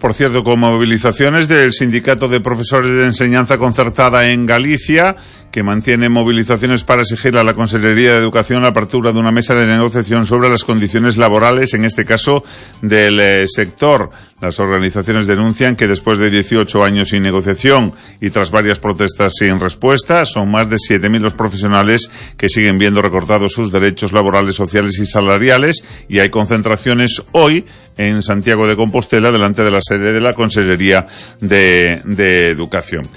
por cierto, con movilizaciones del Sindicato de Profesores de Enseñanza Concertada en Galicia, que mantiene movilizaciones para exigir a la Consellería de Educación la apertura de una mesa de negociación sobre las condiciones laborales, en este caso del sector. Las organizaciones denuncian que después de 18 años sin negociación y tras varias protestas sin respuesta, son más de 7.000 los profesionales que siguen viendo recortados sus derechos laborales, sociales y salariales, y hay concentraciones hoy en Santiago de Compostela delante de la sede de la Consellería de Educación.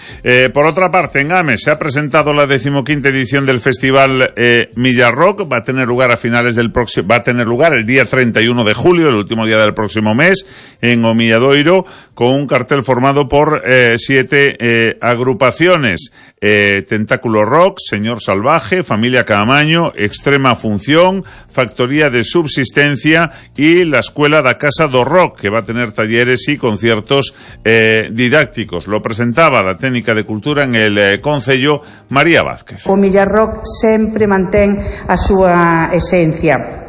Por otra parte, en Ames se ha presentado la 15ª edición del Festival Millarrock. Va a tener lugar el día 31 de julio, el último día del próximo mes, en Omilladoiro, con un cartel formado por 7 agrupaciones: Tentáculo Rock, Señor Salvaje, Familia Caamaño, Extrema Función, Factoría de Subsistencia y la Escuela da Casa do Rock, que va a tener talleres y conciertos didácticos. Lo presentaba la técnica de cultura en el Concello, María Vázquez. O Millarrock sempre mantén a súa esencia,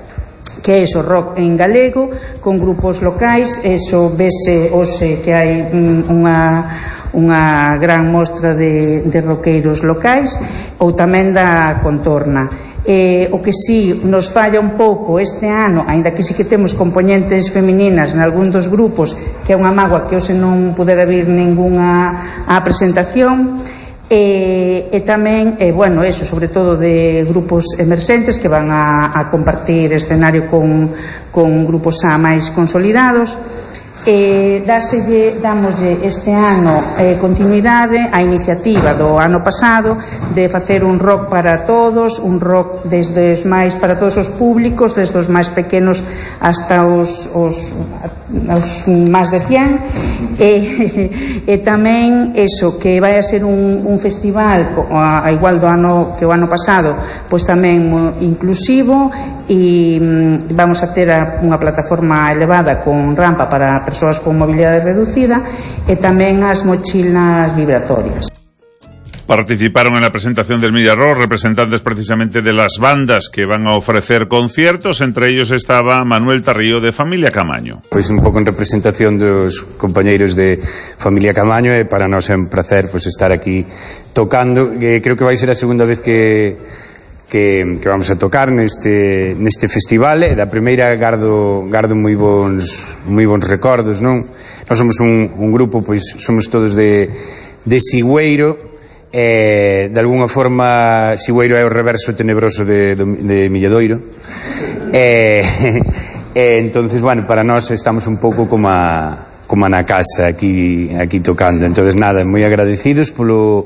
que é o rock en galego, con grupos locais. Eso vese hoxe que hai unha gran mostra de roqueiros locais, ou tamén da contorna. O que sí nos falla un pouco este ano, aínda que sí que temos componentes femininas nalgún dos grupos, que é unha mágoa que hoxe non pudera vir ningunha á presentación, e tamén, bueno, eso, sobre todo de grupos emerxentes que van a compartir escenario con grupos xa máis consolidados. Dámoslle este ano continuidade á iniciativa do ano pasado de facer un rock para todos, un rock desde os máis para todos os públicos, desde os máis pequenos hasta os máis de 100, e tamén eso, que vai a ser un festival a igual do ano que o ano pasado, pois tamén inclusivo, e vamos a ter unha plataforma elevada con rampa para persoas con mobilidade reducida, e tamén as mochilas vibratorias. Participaron en la presentación del Millarrock representantes precisamente de las bandas que van a ofrecer conciertos. Entre ellos estaba Manuel Tarrío de Familia Caamaño. Pois un pouco en representación dos compañeiros de Familia Caamaño, e para nós é un placer estar aquí tocando. Creo que vai ser a segunda vez que vamos a tocar neste festival. Da primeira gardo moi bons recordos, non? Nós somos un grupo, pois somos todos de Sigüeiro. De alguna forma Sigüeiro é o reverso tenebroso de Milladoiro, entonces, bueno, para nós estamos un pouco como na casa aquí tocando. Entonces, nada, moi agradecidos polo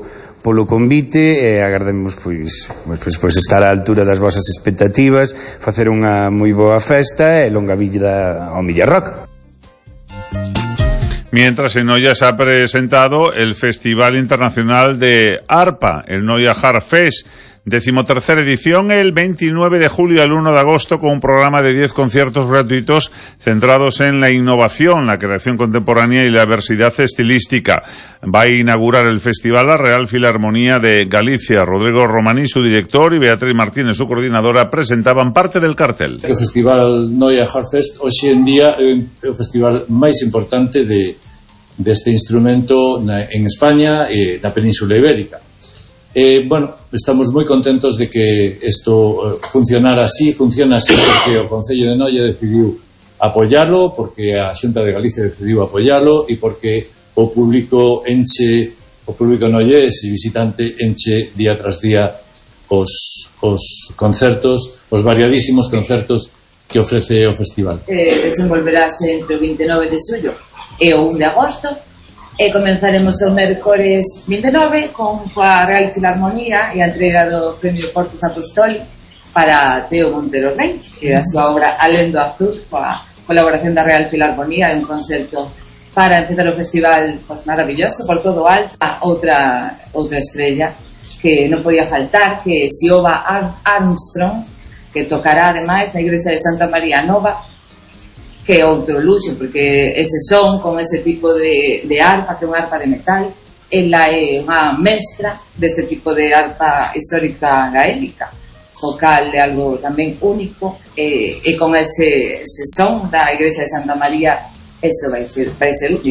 convite, e agardemos pois estar á altura das vosas expectativas, facer unha moi boa festa e longa vida ao Millarrock. Mientras en Noia se ha presentado el Festival Internacional de Arpa, el Noia Harp Fest, 13ª edición, el 29 de julio al 1 de agosto, con un programa de 10 conciertos gratuitos centrados en la innovación, la creación contemporánea y la diversidad estilística. Va a inaugurar el festival la Real Filarmonía de Galicia. Rodrigo Romaní, su director, y Beatriz Martínez, su coordinadora, presentaban parte del cartel. O Festival Noia Harp Fest hoxe en día é o festival máis importante deste instrumento en España e na Península Ibérica. Bueno, estamos moi contentos de que isto funciona así porque o Concello de Noia decidiu apoialo, porque a Xunta de Galicia decidiu apoialo, e porque o público noiés e visitante enche día tras día os concertos, os variadísimos concertos que ofrece o festival. Desenvolverase entre o 29 de xullo e o 1 de agosto, e comenzaremos o mércores 29 coa Real Filarmonía e a entrega do Premio Portos Apostoli para Teo Montero Rey, que é a súa obra Alén do Azul, coa colaboración da Real Filarmonía, e un concerto para empezar o festival maravilloso por todo alto. Outra estrella que non podía faltar, que é Siobhan Armstrong, que tocará ademais na igrexa de Santa María Nova, que é outro luxo, porque ese son con ese tipo de arpa, que é unha arpa de metal. Ela é unha mestra deste tipo de arpa histórica gaélica, o cal é algo tamén único, e con ese son da igrexa de Santa María, eso vai ser único.